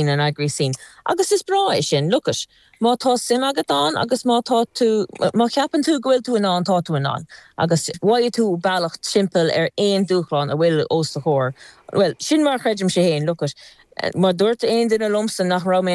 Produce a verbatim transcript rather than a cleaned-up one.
An eagraí sin. Agus is breá é sin look it. Má tá suim agat ann agus má tá tú má cheapann tú go bhfuil tú in ann tá tú in ann. Agus bhfaighidh tú bealach timpeall ar aon dúshlán a bhfuil os do chomhair. Well, sin mar chreidim sé féin look it. Má dúirt aon duine liomsa nach raibh mé